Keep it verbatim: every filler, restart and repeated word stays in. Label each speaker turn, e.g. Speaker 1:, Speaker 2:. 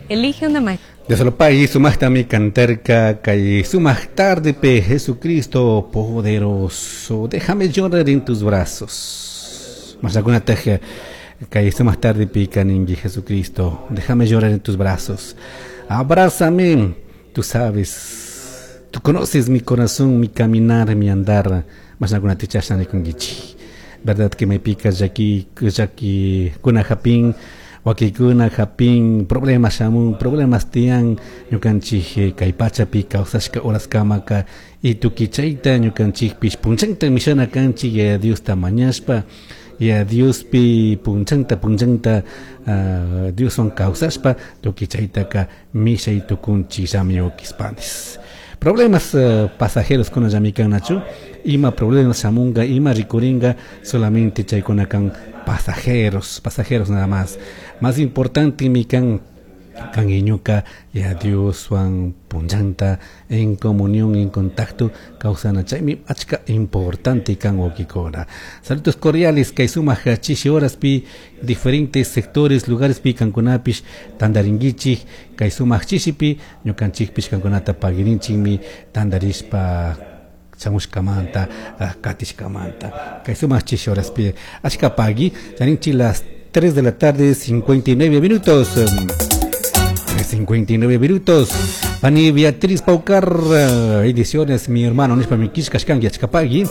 Speaker 1: Elige una maestra.
Speaker 2: Dios sumaqtami cantarka kay sumaq tardepi Jesucristo poderoso. Déjame llorar en tus brazos. Mashakunataq kay sumaq tardepi kaninki Jesucristo. Déjame llorar en tus brazos. Abrázame. Tú sabes, tú conoces mi corazón, mi caminar, mi andar. Mashakunata chashna. Verdad que me pica llaki llakikuna hapin, wakikuna hapin, problemas shamun, problemas tiyan ñukanchik kay pachapi kawsashka horaskamaka y tukuy chayta ñukanchikpish punchanta mishana kanchik Yaya Diosta mañashpa, Yaya Diospi punchanta punchanta uh, Dioswan kawsashpa tukuy chaytaka mishay tukunchik llami wawkispanis. Problemas uh, pasajeros kuna llami ima problemas shamunga, ima rikuringa, solamente chaykuna kan pasajeros, pasajeros nada más. Más importante mi kan kan iñuka Yaya Dioswan punchanta en comunión, en contacto kawsana chaymi achka importante kan wawkikuna. Saludos cordiales kay sumaq chishi horaspi diferentes sectores, lugares pi kankunapish tandarinkichik kay sumaq chishipi ñukanchikpish kankunata pagirinchikmi tandarishpa shamushkamanta, katishkamanta kay sumaq chishi horaspi achka pagui charinchik las tres de la tarde, cincuenta y nueve minutos. cincuenta y nueve minutos. Pani Beatriz Paucar, ediciones, mi hermano, nishpa mi kishkashkanki, achka pagui.